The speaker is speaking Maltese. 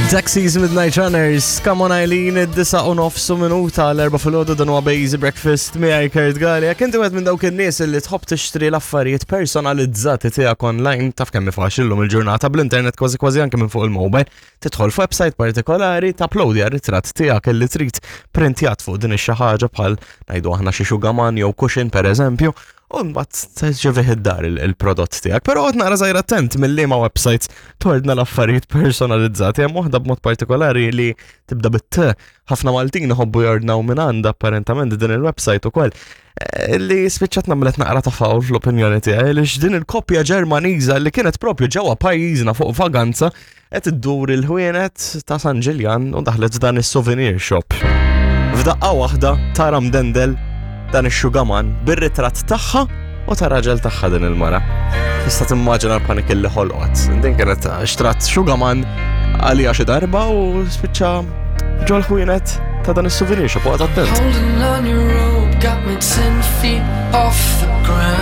Taxis Midnight Runners, come on Eileen, id-disa u nofsu minuta l-erba filgħodu dan huwa Bazy Breakfast miegħi Kurt Galea. Kien wieħed minn dawk in-nies li tħobb tixtri l-affarijiet personalizzati tiegħek online, taf kemm faċli llum il-ġurnata bl-internet kważi kważi anke minn fuq il-mobile. Tidħol f'website partikolari, tapplowdja r-ritratt tiegħek li trid printjat fuq din ix-xi ħaġa bħal ngħidu aħna xi xugaman jew cushion pereżempju, u mbagħad terġevih id-dar il-prodott tiegħek. Però qed naqra żgħir attent mill-liema websites tordna l-affarijiet personalizzati. Hemm waħda b'mod partikolari li tibda bit-T. Ħafna Maltin iħobbu jordnaw minn għandha apparentament din il-website ukoll. Eh, li spiċċat nagħmlet naqra ta' fawl fl-opinjoni tiegħi li din il-koppja Ġermaniża li kienet propju ġewwa pajjiżna fuq vaganza Qed iddur il-ħwienet ta' San Ġiljan u daħlet f'dan is-souvenir shop. F'daqqa waħda tara mdendel dan ix-xugaman bir-ritratt tagħha u ta' raġel tagħha din il-mara. Tista' timmaġina l-panik li ħolqot. Din kienet xtrat xugaman għalija xi darba u spiċċa ġol ħwienet ta' dan is-souvenir shop waqt attent. Holding on your rope got me 10 feet off the ground.